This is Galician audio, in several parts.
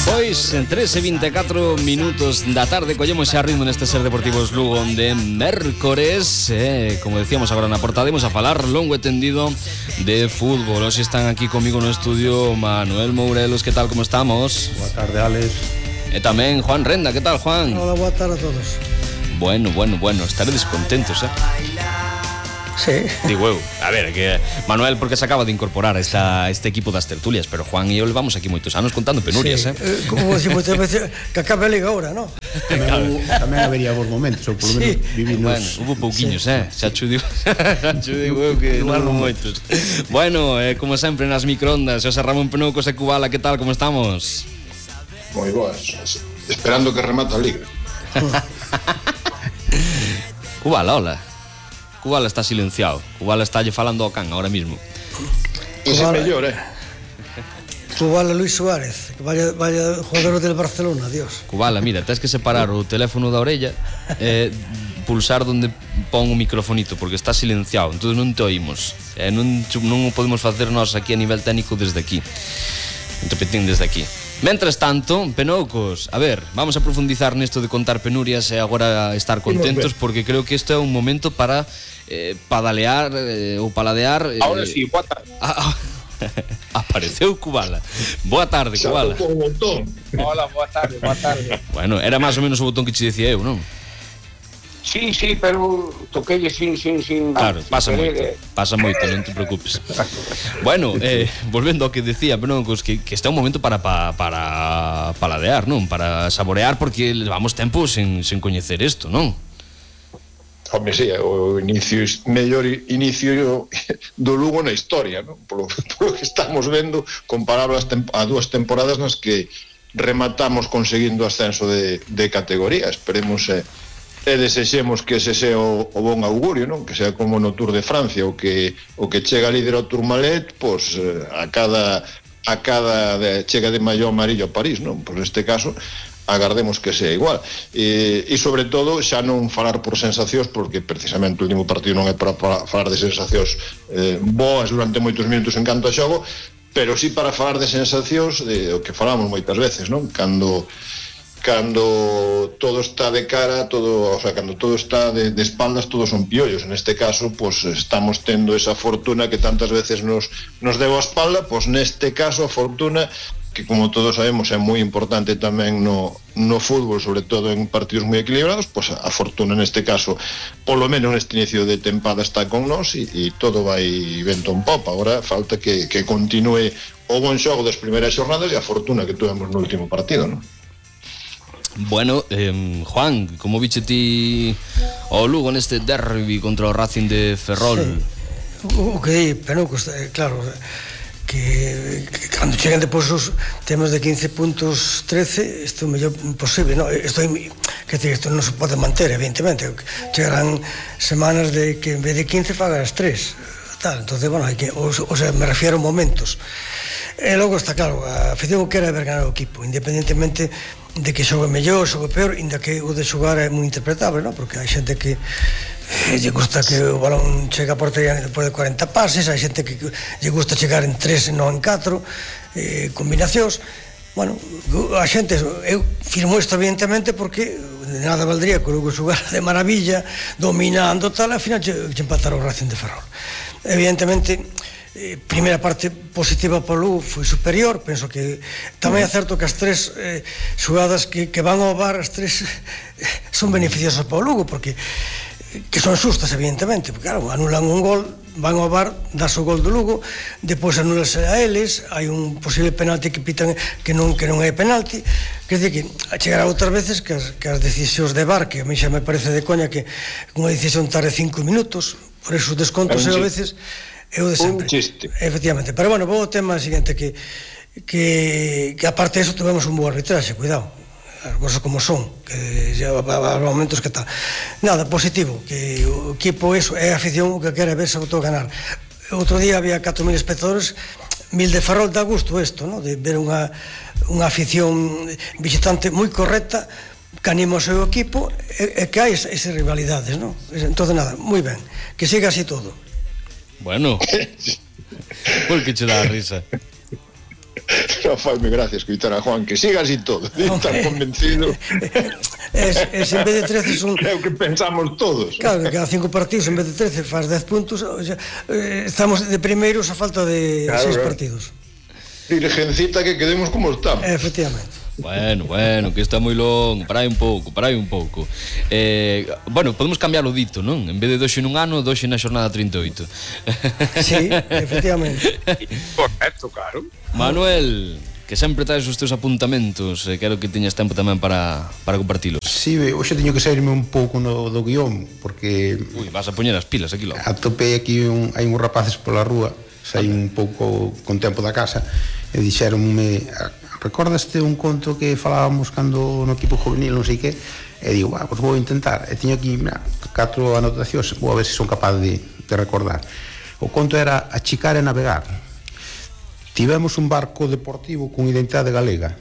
Pois, en 13:24 minutos da tarde collemos xa ritmo neste Ser Deportivos Lugo de mércores. Como decíamos agora na portada, imos a falar longo e tendido de fútbol. Hoxe están aquí comigo no estudio Manuel Mourelos, que tal, como estamos? Boa tarde, Alex. E tamén Juan Renda, que tal, Juan? Hola, boa tarde a todos. Bueno, estaredes contentos, Sí. Digo eu, a ver, que Manuel porque se acaba de incorporar a este equipo das tertulias, pero Juan e eu levamos aquí moitos anos contando penurias, sí. Como se moitas veces que acabe a liga agora, non? Tamén habería vos momentos, ou polo menos vivimos. Bueno, hubo pouquiños, xa cho digo eu que non moitos. Bueno, como sempre nas microondas, José Ramón Penoucos e Cubala, que tal, como estamos? Moi boas, esperando que remata a liga. Cubala, hola. Cubala está silenciado. Cubala está lle falando ao can ahora mismo. Ese é mellor, Cubala Luis Suárez, que vaya jugador del Barcelona, adiós. Cubala, mira, tens que separar o teléfono da orella e pulsar donde pon o microfonito, porque está silenciado, entón non te oímos. Non o podemos facer nós aquí a nivel técnico desde aquí. Interpretín desde aquí. Mentres tanto, Penoucos, a ver, vamos a profundizar nesto de contar penurias e agora estar contentos, porque creo que isto é un momento para padalear ou paladear. Ahora sí, boa tarde. Apareceu Cubala. Boa tarde, Cubala. Hola, boa tarde. Bueno, era máis ou menos o botón que che dicía eu, non? Sí, pero toquei sin. Claro, pasa moito, non te preocupes. Bueno, volvendo ao que decía, pero que este é un momento para paladear, non? Para saborear, porque levamos tempo sen coñecer isto, non? Home, sí, o mellor inicio do Lugo na historia, non? Polo que estamos vendo, comparable a dúas temporadas nas que rematamos conseguindo ascenso de categoría. Esperemos e desexemos que ese sea o bon augurio, non? Que sea como no Tour de Francia, o que chega líder ao Tourmalet, pois a cada chega de maillot amarillo a París, non? Pois neste caso agardemos que sea igual, e sobre todo xa non falar por sensacións, porque precisamente o último partido non é para falar de sensacións boas durante moitos minutos en canto a xogo, pero sí para falar de sensacións de o que falamos moitas veces, non? Cando todo está de cara, cando todo está de espaldas, todos son piollos. En este caso, pues estamos tendo esa fortuna que tantas veces nos deu a espalda, pues neste caso a fortuna que, como todos sabemos, é moi importante tamén no fútbol, sobre todo en partidos moi equilibrados, pues a fortuna neste caso, polo menos neste inicio de tempada, está con nós e todo vai vento en popa. Agora falta que continue o bon xogo das primeiras xornadas e a fortuna que tuvemos no último partido, non? Bueno, Juan, como viche ti o Lugo neste derbi contra o Racing de Ferrol? Sí. O que di, Penoucos, claro, que cando cheguen depois os temas de 15 puntos 13, isto é o mellor posible, non? Isto non se pode manter, evidentemente. Chegarán semanas de que en vez de 15 fagas 3, tal. Entonces, bueno, hai que, o sea, me refiero a momentos. E logo está claro, a afición quere ver ganar o equipo, independentemente de que xogue mellor, xogue peor, inda que o de xogar é moi interpretable, non? Porque hai xente que lle gusta que o balón chegue a portería depois de 40 pases, hai xente que lle gusta chegar en 3 e non en 4 combinacións. Bueno, a xente, eu firmo isto evidentemente porque de nada valdría que o Lugo xogara de maravilla, dominando tal, ao final che empatara o Racing de Ferrol. Evidentemente, primeira parte positiva para o Lugo foi superior. Penso que tamén é certo que as tres xogadas que van ao VAR, as tres son beneficiosas para o Lugo, porque que son xustas, evidentemente, porque claro, anulan un gol, van ao VAR, das o gol do Lugo, depois anulase a eles, hai un posible penalti que pitan que non é penalti. Quer dizer que chegará outras veces que as decisións de VAR, que a mí xa me parece de coña que unha decisión tarde 5 minutos, por eso os descontos a veces é o de sempre. Un chiste. Efectivamente. Pero bueno, vou ao tema seguinte, que aparte de eso tuvemos un bo arbitraxe, cuidado, as cosas como son, que xa há momentos que tal. Nada, positivo, que o equipo é a afición o que quere ver se botou a ganar. Outro día había 4.000 espectadores, 1.000 de Ferrol, dá gusto isto, ¿no? De ver unha afición visitante moi correcta, que anima o seu equipo e que hai esas rivalidades, ¿no? Entón, nada, moi ben, que siga así todo. Bueno, por que che dá a risa? Non faime gracia escoitar a Juan, que siga así todo, tan convencido. En vez de 13 son... É o que pensamos todos. Claro, que cada 5 partidos en vez de 13 faz 10 puntos, o sea, estamos de primeiros a falta de 6 partidos. Virgencita, que quedemos como estamos. Efectivamente. Bueno, que está moi longo, parai un pouco. Bueno, podemos cambiar o dito, non? En vez de doxe nun ano, doxe na xornada 38. Sí, efectivamente. Correcto, claro. Manuel, que sempre traes os teus apuntamentos, quero que teñas tempo tamén para compartilos. Sí, hoxe teño que sairme un pouco do guión, porque... Ui, vas a poñer as pilas aquí logo. Atopei aquí, hai uns rapaces pola rúa, saí un pouco con tempo da casa, e dixeronme, recordaste un conto que falábamos cando no equipo juvenil, non sei que, e digo, pois vou intentar, e teño aquí 4 anotacións, vou a ver se son capaz de recordar. O conto era Achicar e navegar. Tivemos un barco deportivo con identidade galega,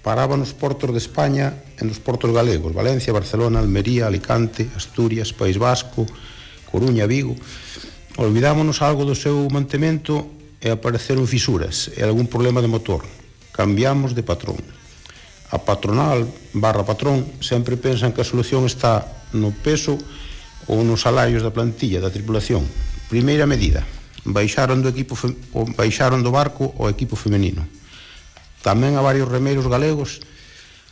paraba nos portos de España e nos portos galegos, Valencia, Barcelona, Almería, Alicante, Asturias, País Vasco, Coruña, Vigo. Olvidámonos algo do seu mantemento e apareceron fisuras e algún problema de motor. Cambiamos de patrón. A patronal / patrón sempre pensan que a solución está no peso ou nos salarios da plantilla da tripulación. Primeira medida, baixaron do barco o equipo femenino. Tamén a varios remeiros galegos,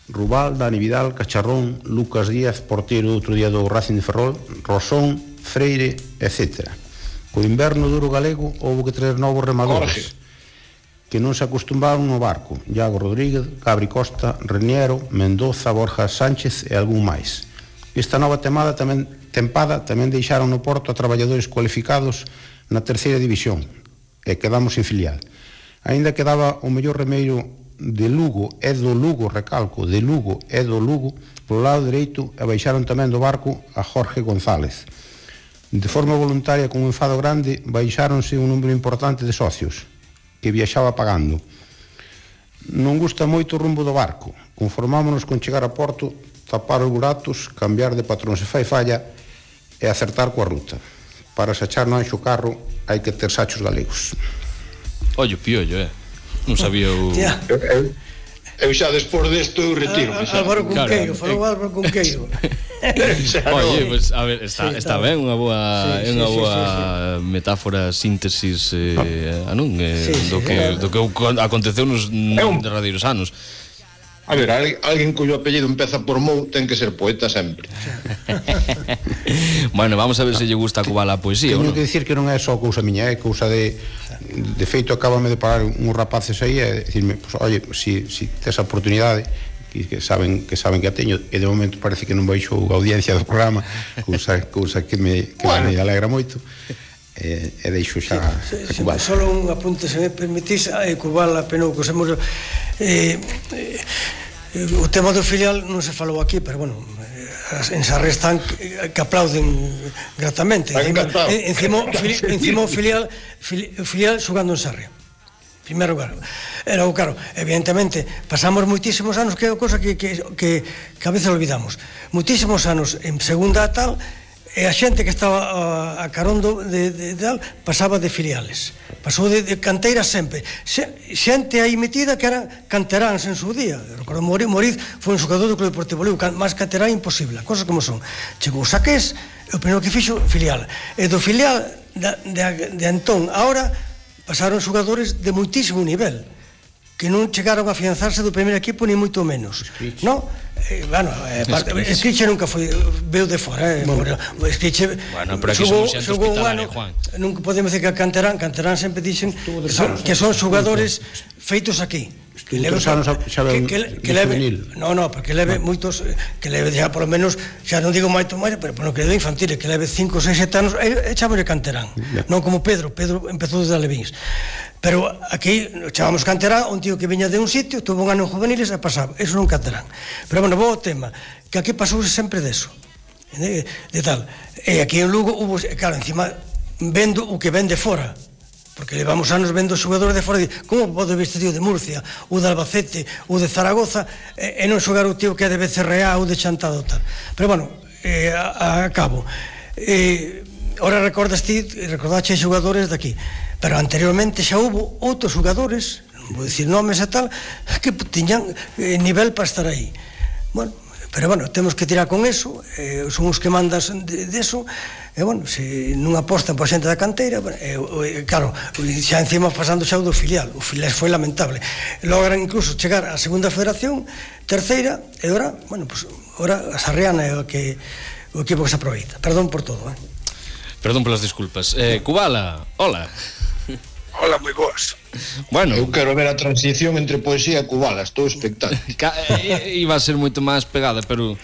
Rubal, Dani Vidal, Cacharrón, Lucas Díaz, porteiro outro día do Racing de Ferrol, Rosón, Freire, etc. Co inverno duro galego houve que traer novos remadores que non se acostumbaron no barco: Iago Rodríguez, Gabri Costa, Reniero, Mendoza, Borja Sánchez e algún máis. Esta nova tempada tamén deixaron no porto a traballadores cualificados na terceira división e quedamos sin filial. Aínda quedaba o mellor remeiro de Lugo e do Lugo, recalco, de Lugo e do Lugo polo lado dereito, e baixaron tamén do barco a Jorge González. De forma voluntaria, con un enfado grande, baixáronse un número importante de socios que viaxaba pagando. Non gusta moito o rumbo do barco. Conformámonos con chegar a porto, tapar os buratos, cambiar de patrón se fai falla e acertar coa ruta. Para sachar no anxo carro hai que ter sachos galegos. Ollo, piollo, non sabía o... Eu xa despois desto eu retiro. Álvaro Cunqueiro, falou Álvaro Cunqueiro. Oye, pues a ver, está ben, unha boa metáfora, síntesis non? Do que aconteceu nos derradeiros anos. A ver, alguén cuyo apellido empeza por Mou ten que ser poeta sempre. Bueno, vamos a ver se lle gusta a Cubala a poesía. Teño que dicir que non é só cousa miña, é cousa de feito, acabame de parar uns rapaces aí e dicirme, pues, oye, si tes a oportunidade, que saben que a teño, e de momento parece que non baixo a audiencia do programa, cousa que me alegra moito. E deixo xa a Cubala. Solo un apunte, se me permitís, a Cubala, penou que semos... O tema do filial non se falou aquí, pero bueno, en Sarre están que aplauden gratamente. Encima o filial xogando en Sarre. Primeiro, claro. Claro, evidentemente, pasamos moitísimos anos, que é a cosa que a veces olvidamos. Moitísimos anos en segunda tal, e a xente que estaba a carón de tal pasaba de filiales, pasou de canteiras sempre, xente aí metida que eran canteráns en su día. Recordo, Moriz foi un xogador do Club Deportivo Lugo, máis canterán imposible, cosas como son. Chegou Saqués, e o primeiro que fixo filial, e do filial de Antón ahora pasaron xogadores de moitísimo nivel que non chegaron a afianzarse do primeiro equipo ni moito menos, non? Bueno, Escriche nunca foi, veu de fora, o Escriche xogou un ano, nunca podemos decir que Canterán sempre dixen que son xogadores feitos aquí, que leve moitos, que leve xa por lo menos, xa non digo moito máis, pero que leve infantil, que leve 5, 6, 7 anos, echámosle Canterán, non como Pedro empezou desde Alevíns. Pero aquí chamamos Canterán, un tío que viña de un sitio, tuvo un ano en juveniles e pasaba, eso non Canterán. Pero bueno, vou ao tema, que aquí pasouse sempre deso, de tal. E aquí en Lugo hubo, claro, encima vendo o que ven de fora, porque levamos anos vendo xogadores de fora, como pode ver este tío de Murcia, ou de Albacete, ou de Zaragoza, e non xogar o tío que é de Becerreá ou de Chantado tal. Pero bueno, acabo. Ora recordaste xogadores de aquí, pero anteriormente xa hubo outros xogadores, vou dicir nomes e tal, que tiñan nivel para estar aí. Bueno, pero bueno, temos que tirar con eso, son os que mandas deso, e bueno, se non apostan por xente da canteira, claro, xa encima pasando xa o do filial, o filial foi lamentable, logran incluso chegar á segunda federación, terceira, e ora, bueno, pues, ora a Sarriana é o equipo que se aproveita. Perdón por todo, Perdón polas disculpas. Kubala, hola. Hola, moi boas. Bueno, Eu quero ver a transición entre poesía e Kubala, estou expectante. Iba a ser moito máis pegada, pero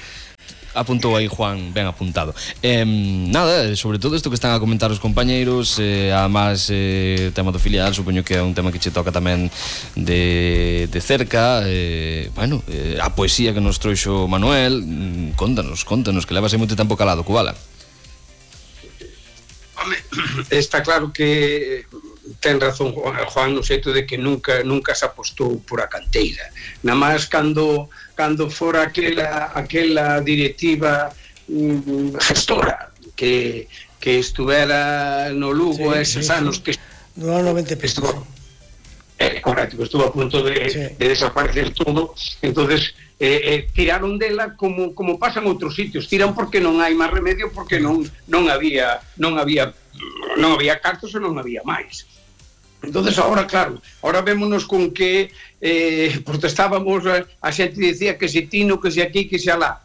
apuntou aí Juan, ben apuntado. Nada, sobre todo isto que están a comentar os compañeiros, además o tema do filial, supoño que é un tema que che toca tamén de cerca, bueno, a poesía que nos trouxo Manuel, contanos, que levas aí moito tempo calado, Kubala. Home, está claro que ten razón Juan no xeito de que nunca se apostou por a canteira. Na máis cando fora aquela directiva gestora que estuvera no Lugo eses anos que do ano 90 estuvo correcto, estuvo a punto de desaparecer todo, entonces tiraron dela como pasan outros sitios, tiran porque non hai máis remedio, porque non había cartos e non había máis. Entonces agora, claro, ahora vémonos con que protestábamos, a xente dicía que se tino, que se aquí, que se alá.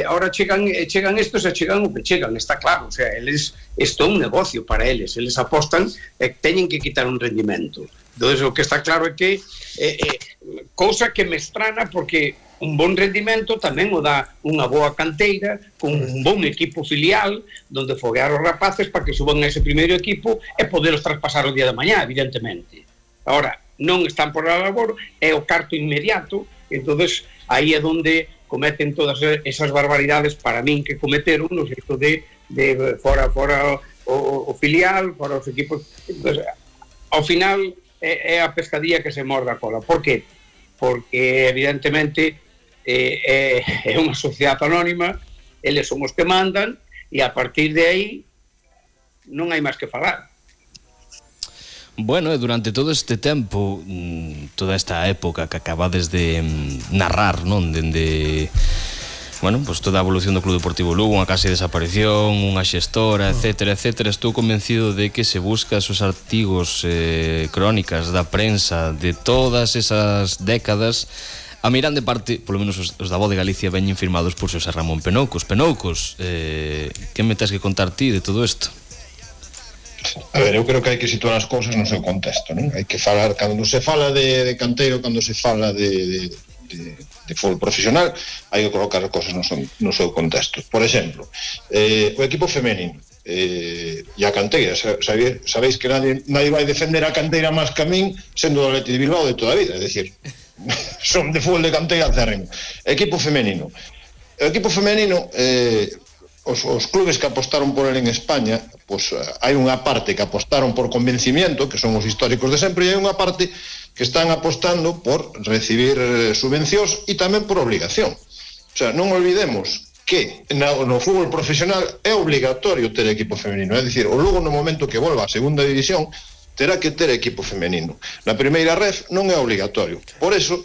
Ahora chegan estos e chegan o que chegan, está claro, o sea, isto é un negocio para eles apostan e teñen que quitar un rendimento. Entonces o que está claro é que cousa que me estrana, porque un bon rendimento tamén o dá unha boa canteira con un bon equipo filial onde foguear os rapaces para que suban a ese primeiro equipo e poderos traspasar o día de mañá, evidentemente. Ahora, non están por a labor, é o carto inmediato, entonces aí é onde cometen todas esas barbaridades para min que cometeron no xeito de fora o filial, fora os equipos. Entonces, ao final é a pescadilla que se morde a cola. Por que? Porque evidentemente é unha sociedade anónima, eles son os que mandan e a partir de aí non hai máis que falar. Bueno, e durante todo este tempo, toda esta época que acabades de narrar, non? Dende, bueno, pues toda a evolución do Club Deportivo Lugo, unha case desaparición, unha xestora, etcétera, estou convencido de que se busca esos artigos, crónicas da prensa de todas esas décadas, a miran de parte, polo menos os da Voz de Galicia, veñen firmados por Xosé Ramón Penoucos. Penoucos, que me tes que contar ti de todo isto? A ver, eu creo que hai que situar as cousas no seu contexto, non? Hai que falar, cando se fala de canteiro, cando se fala de fútbol profesional, hai que colocar as cousas no seu contexto. Por exemplo, o equipo femenino e a canteira, sabéis que nadie vai defender a canteira máis que a min, sendo do Atleti de Bilbao de toda a vida, é dicir, son de fútbol de canteira cerren. Equipo femenino, os clubes que apostaron por ele en España, pois hai unha parte que apostaron por convencimiento, que son os históricos de sempre, e hai unha parte que están apostando por recibir subvencións e tamén por obligación. O sea, non olvidemos que no fútbol profesional é obligatorio ter equipo femenino, é dicir, o Lugo no momento que volva á segunda división terá que ter equipo femenino. Na primeira ref non é obligatorio. Por eso,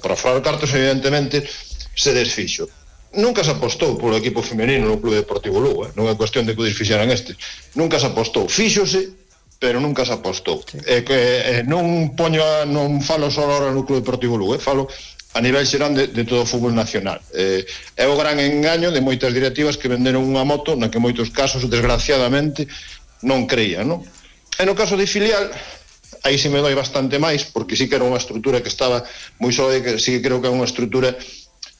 para falar cartos, evidentemente, se desfixo. Nunca se apostou polo equipo femenino no Club Deportivo Lugo, non é cuestión de que o desfixeran este. Nunca se apostou, fíxose, pero nunca se apostou. Sí. Non falo só agora no Club Deportivo Lugo, falo a nivel xeral de todo o fútbol nacional. É o gran engaño de moitas directivas que venderon unha moto na que moitos casos, desgraciadamente, non creían, non? E no caso de filial, aí sí me doi bastante máis, porque sí que era unha estrutura que estaba moi sólida, que sí que creo que é unha estrutura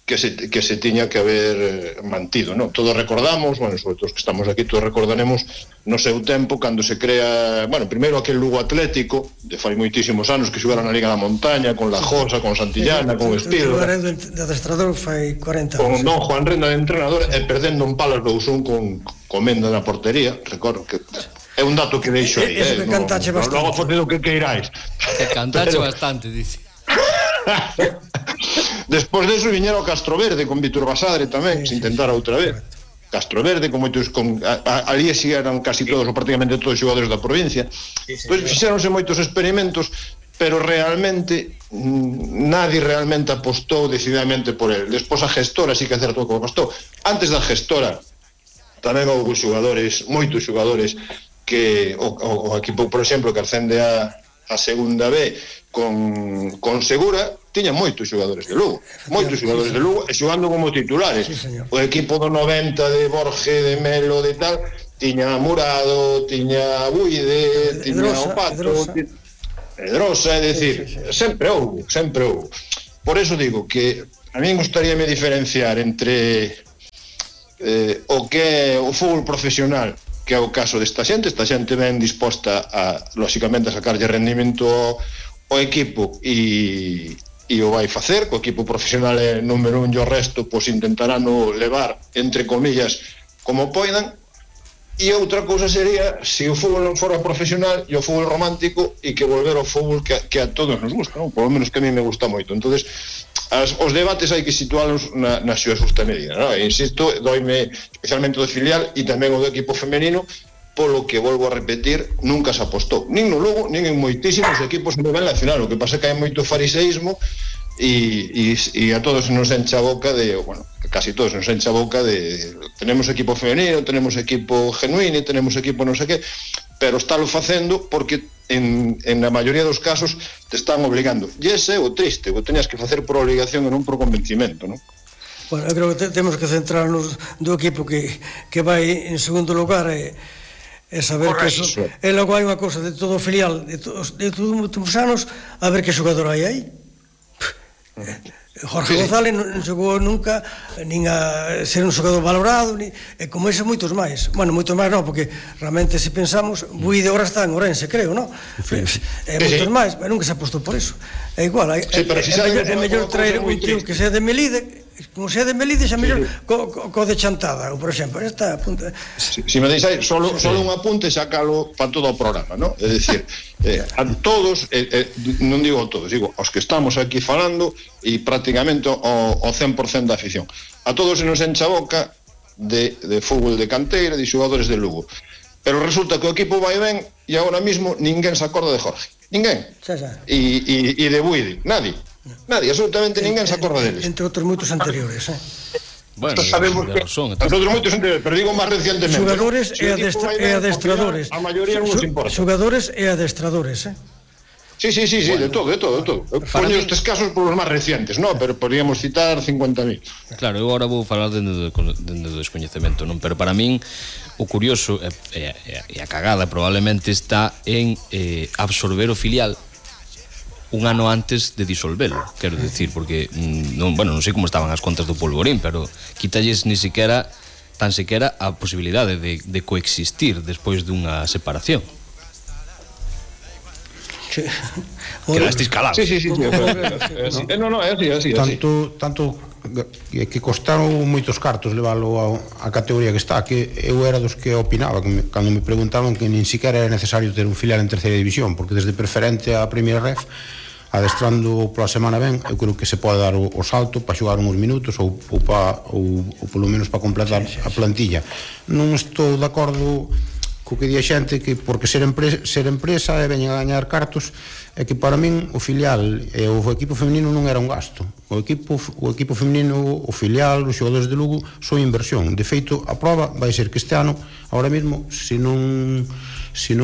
que se tiña que haber mantido, non? Todos recordamos, bueno, sobre todo os que estamos aquí, todos recordaremos no seu tempo cando se crea, bueno, primeiro aquel Lugo Atlético, de fai moitísimos anos que xogaron na Liga da Montaña, con La Josa, con Santillana, con Espiro. O de adestrador fai 40 anos. Con Don Juan Renda de entrenador, e perdendo un palas 2-1 con Comenda na portería, recordo que é un dato que deixo aí, que cantache bastante. Logo fotido que queiráis. Que cantache bastante, dice. Despois deso viñera o Castroverde con Vítor Basadre tamén, se intentara outra vez. Castroverde, con moitos, ali si eran casi todos, ou prácticamente todos os xogadores da provincia. Pois fixéronse moitos experimentos, pero realmente nadie realmente apostou decididamente por el. Despois a gestora sí que é certo que apostou. Antes da gestora tamén houve xogadores, moitos xogadores que o equipo, por exemplo, que ascende a segunda B con Segura, tiña moitos xogadores de Lugo, e xogando como titulares. O equipo do 90 de Borge, de Melo, de tal, tiña Murado, tiña Buide, tiña o Pato, Pedrosa, é dicir, sempre houve. Por eso digo que a mí gustaríame diferenciar entre o que é o fútbol profesional, que é o caso desta xente ben disposta a, lóxicamente, a sacarlle rendimento ao equipo e o vai facer, co equipo profesional é número 1 e o resto pois intentarán levar, entre comillas, como poidan. E outra cousa sería se o fútbol non fora profesional e o fútbol romántico e que volver ao fútbol que a todos nos gusta, non? Por lo menos que a mí me gusta moito. Entonces os debates hai que situálos na súa justa medida, non? E insisto, doime especialmente do filial e tamén o do equipo femenino, polo que, volvo a repetir, nunca se apostou nin no Lugo, nin en moitísimos equipos a nivel nacional. O que pasa é que hai moito fariseísmo e a todos nos enche a boca de, bueno, casi todos nos enche a boca de tenemos equipo femenino, tenemos equipo genuino, tenemos equipo non sei que, pero estálo facendo porque en a maioría dos casos te están obligando. E ese é o triste, o teñas que facer por obligación e non por convencimento, non? Bueno, eu creo que temos que centrarnos do equipo que vai en segundo lugar e saber que eso. E logo hai unha cousa de todo o filial de todos os anos, a ver que xogador hai aí. Jorge González non chegou nunca nin a ser un xogador valorado, e como ese moitos máis. Bueno, moitos máis non, porque realmente se pensamos, Buide agora está en Ourense, creo, non? Moitos máis, pero nunca se apostou por eso. É igual, é mellor traer un tío que sea de Melide, como sea de Melide, xa mellor co de Chantada, por exemplo. Esta apunta. Si me deixáis solo un apunte, sacalo para todo o programa, non? É dicir, a todos, non digo a todos, digo aos que estamos aquí falando e prácticamente o 100% da afición. A todos se nos enche a boca de fútbol de canteira, de xogadores de Lugo. Pero resulta que o equipo vai ben e agora mismo ninguén se acorda de Jorge. Ninguén. E de Buide, nadie, absolutamente ninguén se acorda deles. Entre outros moitos anteriores, Bueno, sabemos que nosotros moitos anteriores, pero digo máis recientemente. Xogadores e adestradores. A maioría non nos importa. Xogadores e adestradores, Sí, bueno, de todo. Poño estes casos por os máis recientes, non? Pero podríamos citar 50.000. Claro, eu agora vou falar dende do descoñecemento, non? Pero para min o curioso e a cagada probablemente está en absorber o filial un ano antes de disolvelo, quero dicir, porque non sei como estaban as contas do Polvorín, pero quítalles tan sequera a posibilidade de coexistir despois dunha separación. Quedastes calados. Sí. Non, é así. Tanto que costaron moitos cartos leválo a categoría que está, que eu era dos que opinaba cando me preguntaban que nin siquiera era necesario ter un filial en terceira división, porque desde preferente a primeira ref, adestrando pola semana ben, eu creo que se pode dar o salto para xogar uns minutos ou polo menos para completar a plantilla. Non estou de acordo co que di a xente que porque ser empresa e veñen a gañar cartos, é que para min o filial e o equipo femenino non era un gasto. O equipo femenino, o filial, os xogadores de Lugo son inversión. De feito, a prova vai ser que este ano, ahora mesmo, se non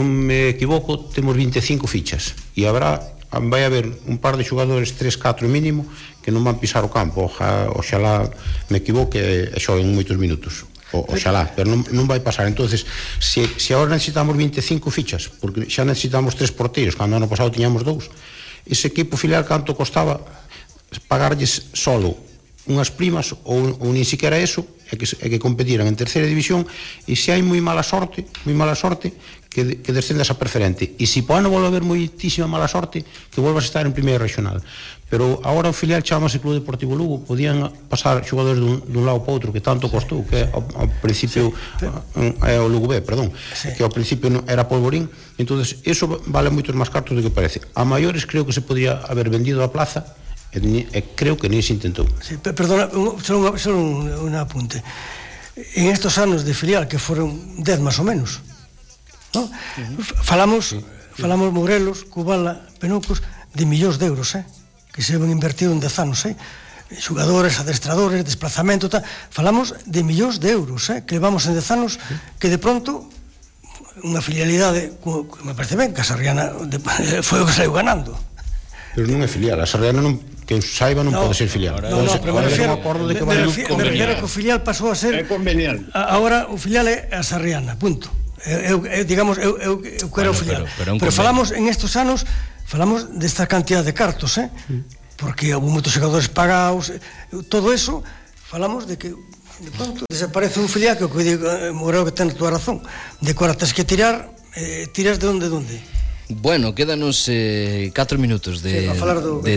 me equivoco, temos 25 fichas e vai haber un par de xogadores, 3-4 mínimo, que non van pisar o campo. Oxalá me equivoque e xoen moitos minutos. Oxalá, pero non vai pasar. Entonces, se agora necesitamos 25 fichas, porque xa necesitamos 3 porteiros, cando ano pasado tiñamos 2, ese equipo filial canto costaba pagarlles solo unhas primas ou nin siquiera eso, é que competiran en terceira división, e se hai moi mala sorte que descendas a preferente, e se po ano volve a haber moitísima mala sorte que volvas a estar en primeira regional. Pero agora o filial chamase Club Deportivo Lugo, podían pasar xogadores dun lado para outro, que tanto costou, que ao principio é o Lugo B, perdón, que ao principio era Polvorín. Entonces eso vale moitos máis cartos do que parece. A maiores creo que se podría haber vendido a plaza, e creo que nin se intentou. Perdona, só un apunte. En estos anos de filial, que foron 10 máis ou menos, falamos Morelos, Cubala, Penucos, de millóns de euros, que se ven invertido en 10 anos, xogadores, adestradores, desplazamento, tal. Falamos de millóns de euros, que levamos en 10 anos, que de pronto unha filialidade, que me parece ben, que a Sarriana foi o que saiu ganando. Pero non é filial, a Sarriana non, que os saiba non pode ser filial. No, pero me refiero que o filial pasou a ser... É conveniente. Agora o filial é a Sarriana, punto. Digamos, eu quero o filial. Pero falamos, en estes anos, falamos desta cantidad de cartos, porque houve moitos xogadores pagados, todo eso, falamos de que de pronto desaparece un filial, que o que digo, creo que ten toda razón, de que ahora tens que tirar, tiras de onde? Bueno, quédanos 4 minutos de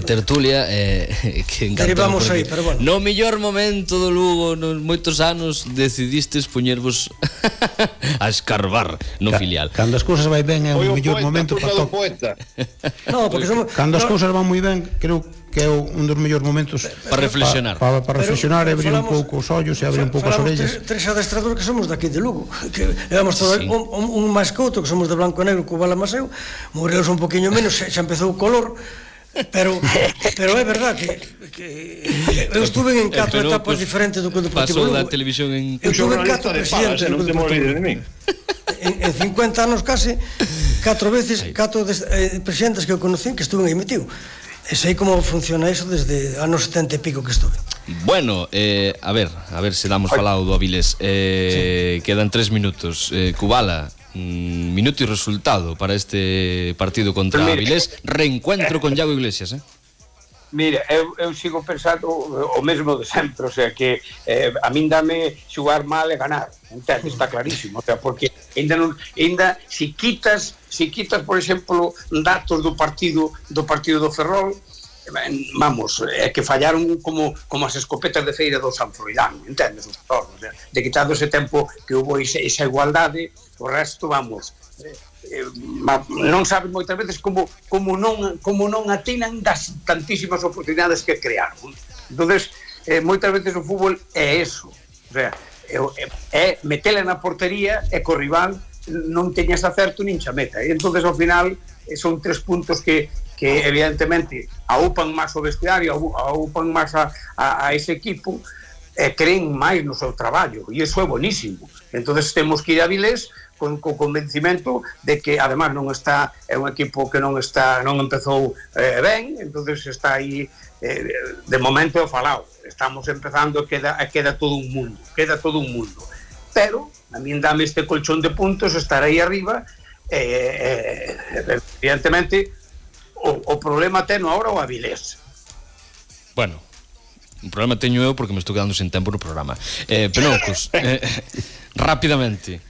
tertulia que derivamos aí, pero bueno. No mellor momento do Lugo, nos moitos anos, decidistes poñervos a escarbar no filial. Cando as cousas vai ben é o mellor momento para tocar. No, porque somos... Cando as cousas van moi ben, creo que é un dos mellores momentos para reflexionar. Para reflexionar e abrir un pouco os ollos e abrir un pouco as orellas. Tres adestradores que somos daqui de Lugo, que levamos todo un máis que outro, que somos de blanco e negro, co Bala Maseu, Morelos un poquinho menos, xa empezou o color, pero é verdad que eu estuve en 4 etapas diferentes do Deportivo Lugo. Pasou da televisión en... Eu estuve en 4 presidentes do Deportivo Lugo. En 50 anos case, 4 veces, 4 presidentes que eu conocí que estuve aí metido. E sei como funciona eso desde anos 70 e pico que estuve. Bueno, a ver se damos falado do Avilés. Quedan 3 minutos. Cubala, minuto e resultado para este partido contra Avilés. Reencuentro con Iago Iglesias, Mira, eu sigo pensando o mesmo de sempre, o sea que a min dame xugar mal e ganar, entende? Está clarísimo, o sea, porque ainda si quitas, por exemplo, datos do partido do Ferrol, vamos, é que fallaron como as escopetas de feira do San Froilán, entendes? O sea, de quitado ese tempo que hubo esa igualdade, o resto, vamos, non saben moitas veces como non atinan das tantísimas oportunidades que crearon. Entonces, moitas veces o fútbol é eso, o sea, é metela na portería e co rival non teñas acerto nin chameta, e entonces ao final son 3 puntos que evidentemente aupan máis o vestiario, aupan máis a ese equipo, e creen máis no seu traballo, e iso é bonísimo. Entonces temos que ir a Avilés con convencimento de que además é un equipo que non empezou ben, entonces está aí de momento falado, estamos empezando, queda todo un mundo, pero a min dame este colchón de puntos, estar aí arriba, evidentemente o problema teno ahora o Avilés. Bueno, un problema teño eu porque me estou quedando sen tempo no programa. Penoucos, rapidamente.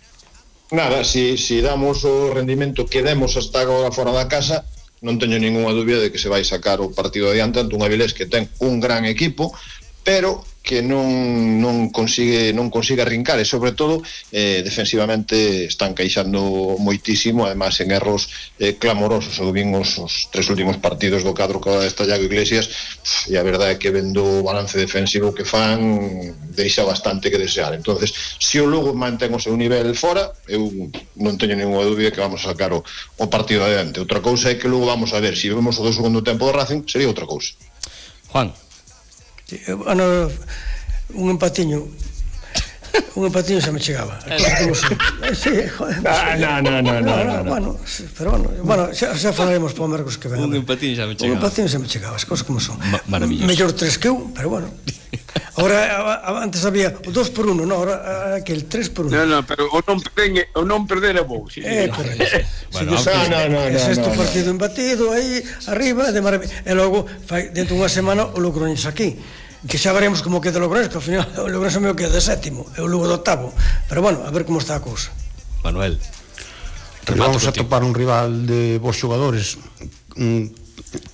Nada, si damos o rendimento que demos hasta agora fora da casa, non teño ninguna dúbida de que se vai sacar o partido adiante ante un Avilés que ten un gran equipo, pero que non consigue arrincar, e sobre todo defensivamente están caixando moitísimo, además en erros clamorosos. Eu vin os 3 últimos partidos do cadro que está Iago Iglesias, e a verdade é que vendo o balance defensivo que fan deixa bastante que desear. Entonces, se o Lugo mantén o seu nivel fora, eu non teño ninguna dúbida que vamos a sacar o partido adiante. Outra cousa é que logo vamos a ver, se vemos o do segundo tempo do Racing, sería outra cousa. Juan. Bueno, un empatiño xa me chegaba. Sí, joder. No. Bueno, xa falaremos para o Mercos que ven. Un empatiño xa me chegaba. Un empatiño xa me chegaba, as cousas como son. Maravilloso. Mellor 3 que 1, pero bueno. Ahora, antes había o 2 por 1, no, ahora aquel 3 por 1. No, pero o non perder é bo. Bueno, é sexto partido embatido aí, arriba, de maravilla. E logo, dentro dunha semana, o Logroñés aquí. Que xa veremos como queda o Logroñés, que ao final o Logroñés me queda de 7º, e o Lugo de 8º. Pero bueno, a ver como está a cousa. Manuel, vamos a topar un rival de bons xogadores,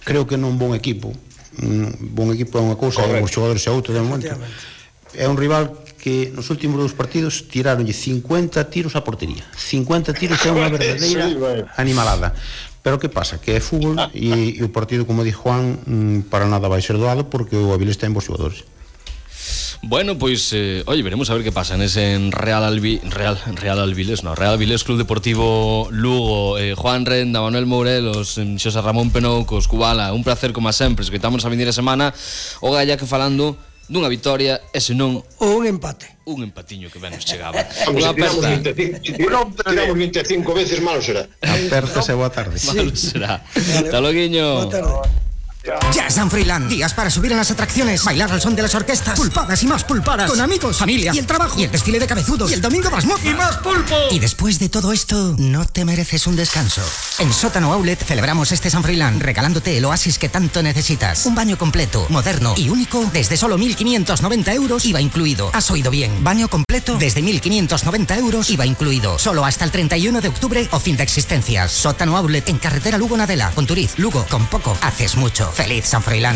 creo que non bon equipo. Bon equipo é unha cousa, e bons xogadores é outra de momento. É un rival que nos últimos 2 partidos tiraronlle 50 tiros á portería. 50 tiros é unha verdadeira animalada. Pero que pasa? Que é fútbol e o partido, como di Juan, para nada vai ser doado porque o Avilés ten bons xogadores. Bueno, pois, oye, veremos a ver que pasa en Real Avilés Club Deportivo Lugo, Juan Renda, Manuel Mourelos, Xosé Ramón Penoucos, Cubala, un placer como a sempre, escoitamos a vindeira semana o Galla que falando dunha vitoria e senón ou un empate. Un empatiño que ben nos chegaba. Vamos, se tiramos 25 veces, malo será. Apertas e boa tarde. Malo será. Hasta loguiño. Boa tarde. Ya San Froilán, días para subir en las atracciones, bailar al son de las orquestas, pulpadas y más pulpadas, con amigos, familia y el trabajo, y el desfile de cabezudos, y el domingo más moza, y más pulpo. Y después de todo esto, ¿no te mereces un descanso? En Sótano Outlet celebramos este San Froilán regalándote el oasis que tanto necesitas. Un baño completo, moderno y único desde solo 1.590 euros, IVA incluido. Has oído bien, baño completo desde 1.590 euros, IVA incluido. Solo hasta el 31 de octubre o fin de existencias. Sótano Outlet en carretera Lugo-Nadela, Ponturiz, Lugo. Con poco haces mucho. ¡Feliz San Froilán!